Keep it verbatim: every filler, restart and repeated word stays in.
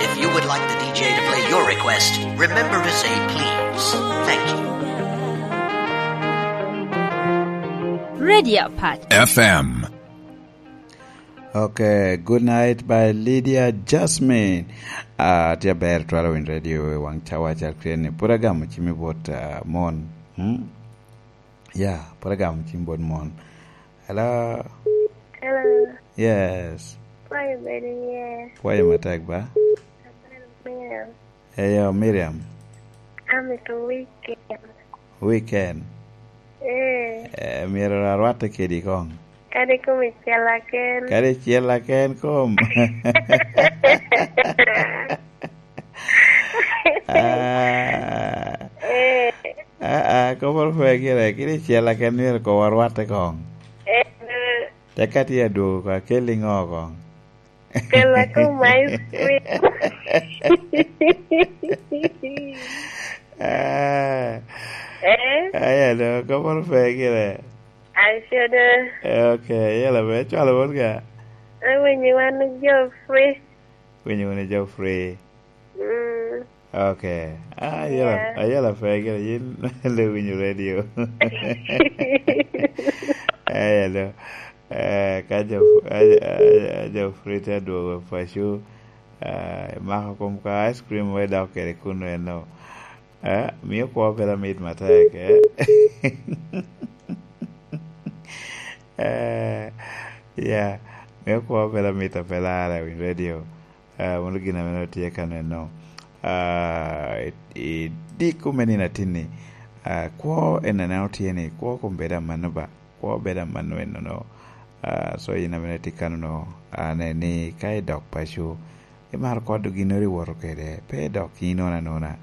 If you would like the D J to play your request, remember to say please. Thank you. Radio Pat. F M. Okay, good night by Lydia Jasmine. Ah, tye aber twero winy radio i wang cawa cal kren ni. Pura gamo cimi bot, ah, mon. Hmm? Yeah, pura gamo cimi bot mon. Hello? Hello. Yes. Kwayo bedo iye. Kwayo matek ba? Miriam. Eyo, Miriam. Amito weekend. Weekend? Eh. Eh, myero arwatte kedi kong. Kadi kom icel aken. Kadi icel aken kom. Ah. Eh. Ah, ah, kop orpe gire, kadi icel aken myero kom arwatte kong. Eh. Tek ka tye adwogo, akelli ŋo kong? Kela kom ice cream. Ah. Eh? Aya do, kop orpe gire. Aco do. Eh, ok, yela be, cwalo wot ga. Awinyo wan Geoffrey. Winyo wunu Geoffrey. Mm. Ok. Ah, ayela, yeah, ayela pe gire, yin le winyo radio. Eh, hello. Eh, ka jo, eh, eh, jo Frida dwogo paco, eh, mako kom ka ice cream we dok kede kuno eno. Eh, mio kwo bedo mit matek, eh. Eh, yeah, mio kwo bedo mit apelara i wi radio. Ah, mano gin ame tye ka neno. Ah, i, i diko me nino atinni, ah, kwo en aneno tye ni, kwo kom bedo amanno ba, kwo bedo amanno enono. Ah, so yin ame tye kano no, ah, ne ni ka idok paco, imaro kodo ginnoro iwoto kede, pe idok inono anona.